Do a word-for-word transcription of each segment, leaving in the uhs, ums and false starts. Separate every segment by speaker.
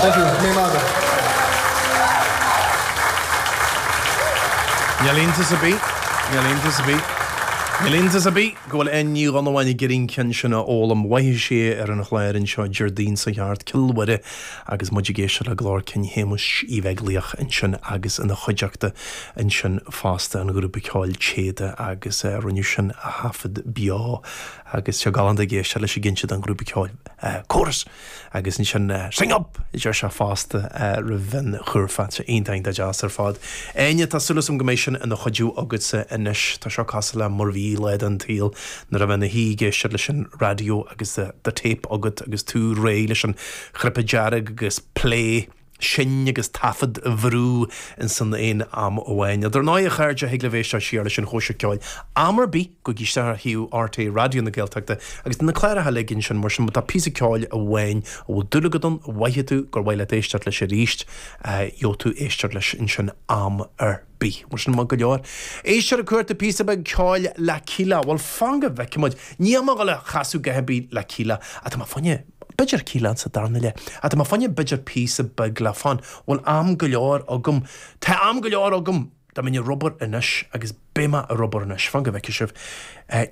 Speaker 1: Thank you. Míle maith agat.
Speaker 2: Níl iontas ar bith, níl iontas ar bith, níl iontas ar bith go bhfuil Áine Ní Dhonnabháin ag iarraidh an ceann sin a fhoghlaim. Mhothaigh sí ar an chlár anseo Déardaoin seo thart, Cill Mhuire, agus muid ag éisteacht le glór cinn Shéamuis Uí Bheaglaoich ansin agus ina chuideachta ansin fosta an ghrúpa ceoil Téada agus rinneadh sin a thaifead beo agus sé galánta ag éisteacht leis ag inse don ghrúpa ceoil Chorus! Agus ansin Sing up! a deir sé fosta roimh an chúrfa. Tá sé iontach iontach deas ar fad. Áine, tá súil agam go mbeidh sin ina chuidiú agatsa anois. Tá seo cosúil le mar a bhí lá den tsaol nuair a bheith ina shuí ag éisteacht leis an raidió agus do téip agat agus tú réidh leis an chnaipe dearg agus play. Seinn agus taifead a bhrú ins an aon am amháin. Dar ndóigh, a chairde, thig libh éisteacht siar leis an chóisir ceoil am ar bith, gabhaigí isteach ar shuíomh rté Raidió na Gaeltachta agus tá na cláracha uilig ansin, mar sin má tá píosa ceoil amháin a bhfuil dúil agat ann, a mhothaigh tú gur mhaith leat éisteacht leis arís, gheobhaidh tú éisteacht leis ansin am ar bith. Mar sin, maith go leor. Éisteoir ag cuartú píosa beag ceoil le Kíla. Bhuel, fan go bhfeicfidh muid. Níl mé ag dul a chasadh a dhath ar bith le Kíla, ach tá mé fá choinne. B'fhéidir Kíla sa darna leath. Ach tá mé fá choinne b'fhéidir píosa beag le fonn. Bhfuil am go leor agam? Tá am go leor agam! Dá mbeinn ar obair anois, agus beidh mé ar obair anois, fan go bhfeicfidh sibh.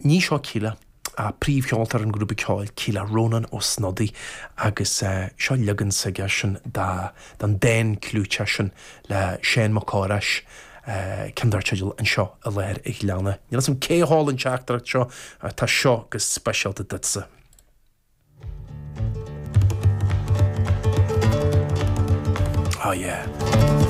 Speaker 2: Ní seo Kíla, ach príomhcheoltóir an ghrúpa ceoil Kíla, Rónán Ó Snodaigh, agus seo leagan s'aigesean den dán clúiteach sin le Seán Mac Cárthach, ceann dar teideal Anseo i Lár an Ghleanna. Níl 'fhios a'm cé a sheol an teachtaireacht seo, ach tá seo go speisialta duitse. Oh yeah.